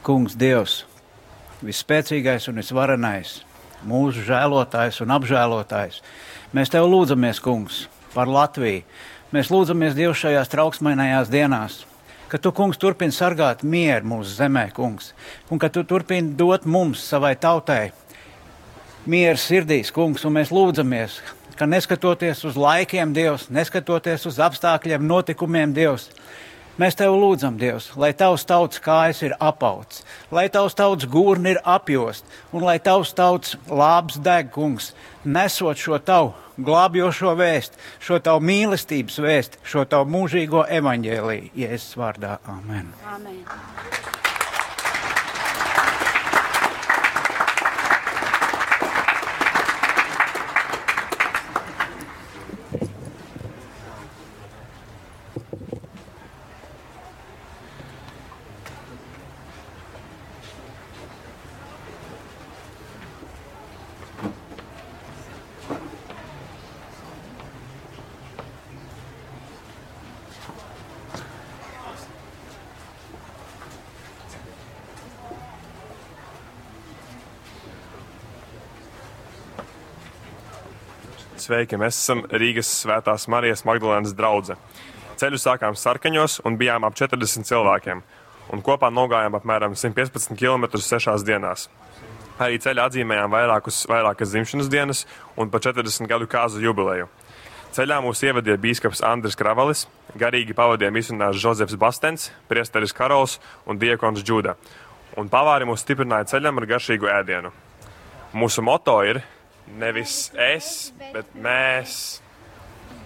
Kungs, Dievs, visspēcīgais un visvarenais, mūsu žēlotājs un apžēlotājs, mēs Tev lūdzamies, Kungs, par Latviju. Mēs lūdzamies, Dievs, šajās trauksmainajās dienās, ka Tu, Kungs, turpini sargāt mieru mūsu zemē, Kungs, un ka Tu turpini dot mums, savai tautai, mieru sirdīs, Kungs, un mēs lūdzamies, ka neskatoties uz laikiem, Dievs, neskatoties uz apstākļiem, notikumiem, Dievs, mēs Tev lūdzam, Dievs, lai Tavs tautas kājas ir apauts, lai Tavs tautas gurni ir apjost, un lai Tavs tautas lāps deg, Kungs, nesot šo Tavu glābjošo vēst, šo Tavu mīlestības vēst, šo Tavu mūžīgo evaņģēliju. Jēzus vārdā. Amen. Amen. Sveiki, mēs esam Rīgas Svētās Marijas Magdalēnas draudze. Ceļu sākām Sarkaņos un bijām ap 40 cilvēkiem, un kopā nogājām apmēram 115 km sešās dienās. Arī ceļā atzīmējām vairākus, vairākas dzimšanas dienas un pa 40 gadu kāzu jubileju. Ceļā mūs ievadīja bīskaps Andris Kravalis, garīgi pavadīja misionārs Žozefs Bastens, priesteris Karols un diakons Džuda, un pavāri mūs stiprināja ceļam ar garšīgu ēdienu. Mūsu moto ir nevis es, bet mēs.